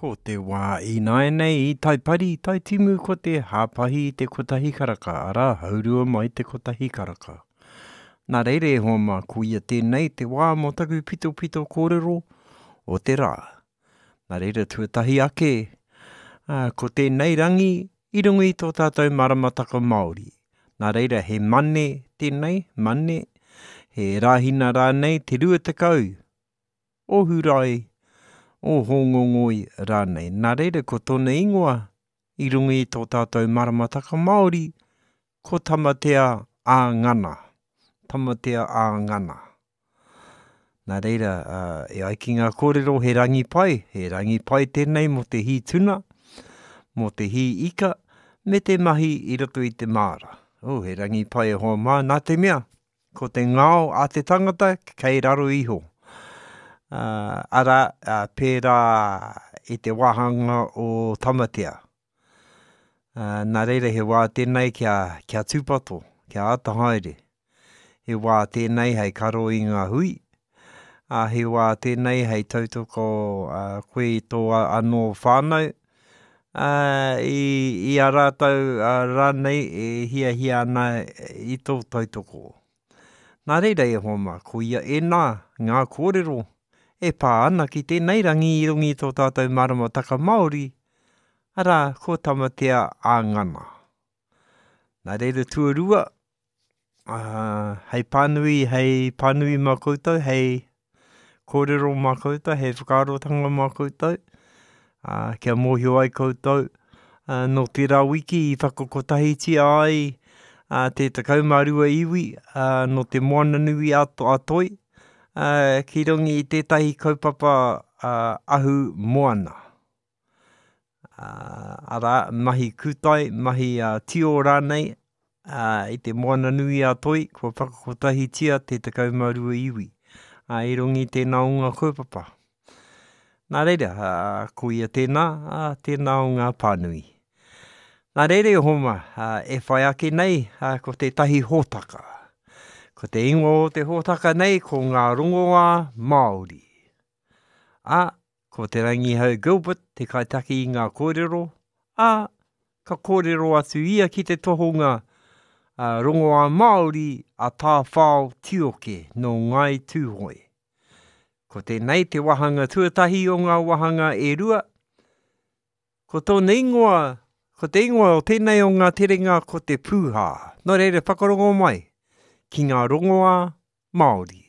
Ko te wā ināianei i Taipari, Taitimu ko te hāpahi i te kotahi karaka, arā, haurua mai te kotahi karaka. Nā reira e hoa mā, koia tēnei te wā mō taku pitopito kōrero o te rā. Nā reira tuatahi ake, ā, ko tēnei rangi i runga i tō tātou maramataka Māori. Nā reira he Mane tēnei, Mane, he Rāhina rānei te 20 o Hurae, o Hōngongoi rānei. Nā reira ko tōna ingoa i runga i tō tātou maramataka Māori, ko Tamatea ā-Ngana. Tamatea ā-Ngana. Nā reira, e ai ki ngā kōrero he rangi pai, he rangi pai tēnei mō te hī tuna, mō te hī ika, me te mahi i roto i te māra. Oh, he rangi pai e hoa mā, nā te mea, ko te ngao a te tangata kei raro iho. Uh, arā, uh, pērā i te wāhanga o Tamatea. Uh, nā reira he wā tēnei kia, kia tūpato, kia āta haere. He wā tēnei hei karo i ngā hui, ā, he wā tēnei hei tautoko uh, koe i tō anō whānau, ā, i, i a rātou uh, rānei e hiahia ana i tō tautoko. Nā reira e hoa mā, koia ēnā ngā kōrero e pā ana ki tēnei rangi i runga i tō tātou maramataka Māori, arā, ko Tamatea ā-Ngana. Nā reira tuarua, ā, hei pānui, hei pānui mā koutou, hei kōrero mā koutou, hei whakaarotanga mā koutou, ā, kia mōhio ai koutou, ā, nō tērā wiki i whakakotahitia ai ā, te 12 iwi ā, nō te Moananui a, a Toi, ā, ki runga i tētahi kaupapa ā, ahu moana. Arā, mahi kūtai, mahi tio rānei, i te Moana nui a Toi, kua whakakotahitia te 12 iwi. Ā, i runga i tēnā o ngā kaupapa. Nā reira, ko ia tēnā, ā, tēnā o ngā pānui. Nā reira e hoa mā, e whai ake nei ko tētahi hōtaka. Ko te ingoa o te hōtaka nei ko Ngā Rongoā Māori. Ā, ko Te Rangihau Gilbert te kaitaki i ngā kōrero, ā, ka kōrero atu ia ki te tohunga rongoā Māori a Tāwhao Tioke nō Ngāi Tūhoe. Ko tēnei te wāhanga tuatahi o ngā wāhanga e rua. Ko tōna ingoa, ko te ingoa o tēnei o ngā terenga ko te pūhā. Nō reira whakarongo mai ki ngā rongoā Māori.